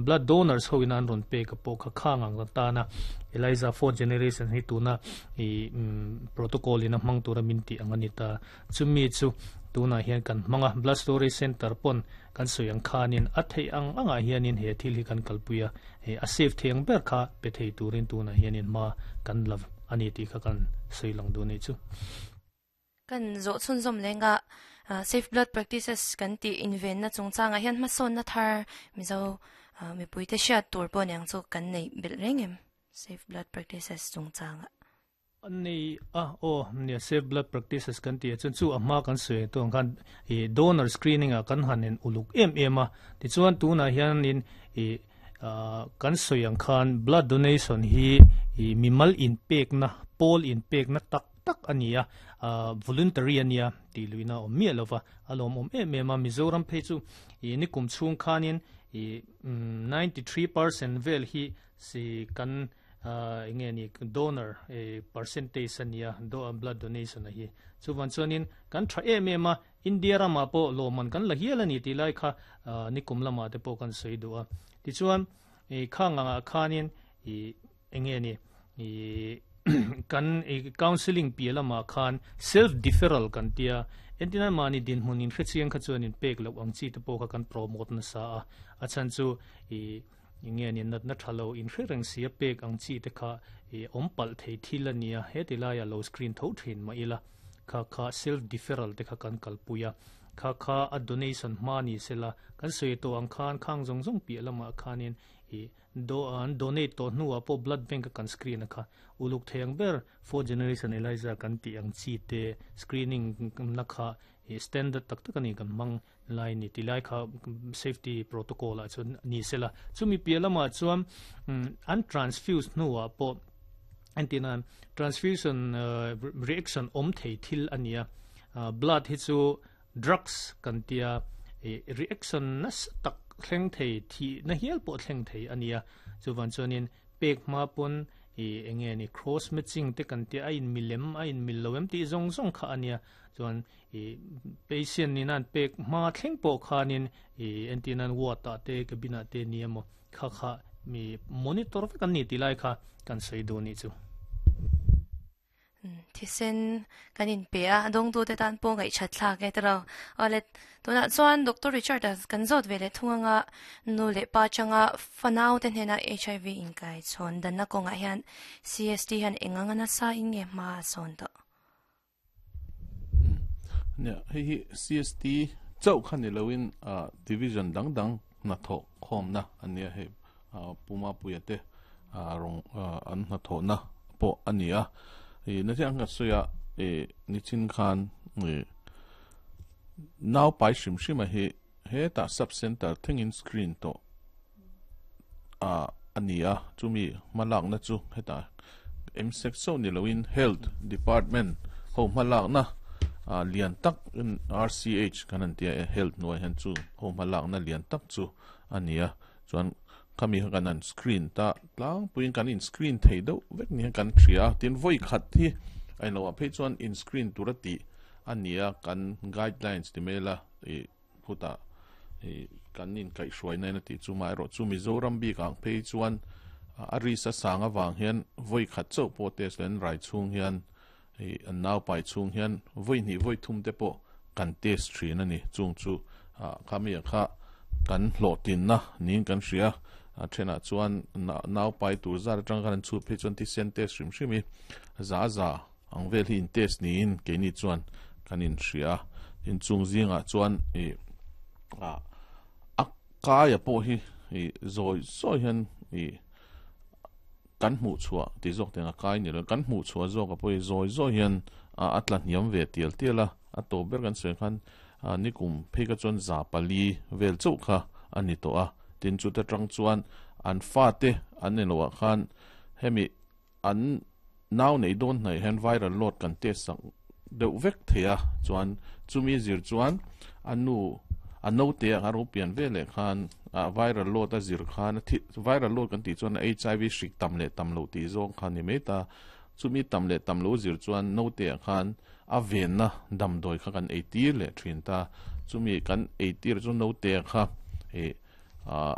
Blood donors ho in an rawn pek a pawh kha khang ang tana ELISA fourth generation hi tuna i protocol in a hmang tura min tih ang a ni ta. Chumi chu tunah hian kan hmang a, Blood Storage Centre pawn kan sawi ang khanin a theih ang angah hianin he thil hi kan kalpui a, he a safe thei ang ber kha pe thei turin tunah hianin hma kan la a ni tih kha kan sawi lang duh a nih chu. Kan zawh chhunzawm lenga Safe Blood Practices kan tih invenna chungchangah hian hmasawnna thar Mizo mipuite hriat tur pawh niang chu kan neih belh reng em Safe Blood Practices chungchangah? An nei a, aw, nia safe blood practices kan tih ah chuan chu a hma kan sawi ang tawng khan ih donor screening ah kan han en uluk em em a, tichuan tunah hianin ih ah kan sawi ang khan blood donation hi ih mimal inpekna pawl inpekna tak tak a ni a, ah voluntary a nia tih luihna a awm miah lo va, a lawmawm em em a, Mizoram phei chu ih nikum chhung khanin ih 93% vel hi si kan eng nge ni donor percentage a nia blood donation a hi chuvan chuanin kan tha em em a India ramah pawh lawmman kan la hial a ni tih lai kha nikum lamah te pawh kan sawi duh a tichuan khang angah khanin eng nge ni kan counselling piah lamah khan self deferral kan tia entirna mahni dinhmun in hrechiang kha chuan in pek loh ang chi te pawh kha kan promote nasa a a chhan chu Enge ni natna tha lo inhre reng si a pek ang chi te kha i awm palh thei thil a nia, heti laia lo screen tho thin mah ila kha kha self deferral te kha kan kalpui a, kha kha a donation hma ni sela kan sawi tawh ang khan khang zawng zawng piah lamah khanin i do an donate tawh hnuah pawh blood bank a kan screen a kha uluk thei ang ber fourth generation ELISA kan tih ang chi te screening na kha i standard tak tak a ni kan hmang Lai ni ti lai kha safety protocol ah chuan ni sela chumi piah lamah chuan an transfuse hnuah pawh entirnan transfusion reaction awm thei thil a nia blood hi chu drugs kan tia reaction nasa tak thleng thei thih na hial pawh thleng thei a nia chuvan chuanin pek hma pawn enge ni cross matching te kan tia a in milem a in mil lo em tih zawng zawng kha a nia chuan I patient nina an pek hma thleng pawh khanin i entirna an ward ah te cabin ah te ni emaw kha kha mi monitor vek an ni tih lai kha kan sawi duh nih chu. Thisen kan inpe a, dawngtute tan pawh ngaihchat thlak e tiraw. Awle tunah chuan Doctor Richard a kan zawt ve leh thung anga nu leh pa atanga fanau te hnena HIV inkaichhawn danna kawngah hian CST hian eng anga nasa in nge hma a sawn tawh? Nia, hei hi CST chauh kha ni loin division dang dang hnathawh khawmna a nia hei Puma Puia te rawng an hnathawhna pawh a ni a. Nati ang ka sawi a nichin khan nau pai hrim hrim a hi hetah sub center thlengin screen tawh a ni a, chumi hmalakna chu hetah MSEC chauh ni loin Health Department ho hmalakna lian tak RCH kan han tia e Health hnuai hian chu ho hmalakna lian tak chu a ni a, chuan khami kha kan han screen ta tlangpuiin kan in screen thei deuh vek ni hian kan hria a, tin vawi khat hi a inloh ah phei chuan in screen tur a tih a ni a, kan guidelines ti mai ila ih Khutah ih kan inkaihhruaina in a tih chu mah erawh chu Mizoram bik ang phei chuan a risk a sang avang hian vawi khat chauh pawh test lo in rai chhung hian ih an nau pai chhung hian vawi hnih vawi thum te pawh kan test thin a ni. Chung chu ah khami ah kha kan hlawhtlinna niin kan hria a thenah chuan nau pai tur zat atang khan an chhut phei chuan thisen test hrim hrim hi za za Ang vel hi in test niin keini chuan kan in hria a, tin chung zingah chuan ih ah a kaia pawh hi ih zawi zawi hian ih kan hmuh chhuah tih zawk teng a kai ni lo kan hmuh chhuah zawk a pawh hi zawi zawi hian a tla hniam ve tial tial a, a tawp ber kan sawi khan nikum phei kha chuan 400 vel chauh kha a ni tawh a, tin chuta tang chuan an fate an ni loh ah khan hemi An nau nei dawn hnaih hian viral load kan test sak deuh vek thei a, chuan chumi zir chuan a nu a naute a ro pian ve leh khan ah viral load a zir khan a thi viral load kan tih chuan a HIV hrik tam leh tam loh tih zawng kha ni mai ta, chumi tam leh tam lo zir chuan naute ah khan a venna damdawi kha kan ei tir leh thin ta, chumi kan ei tir chu naute kha ih ah.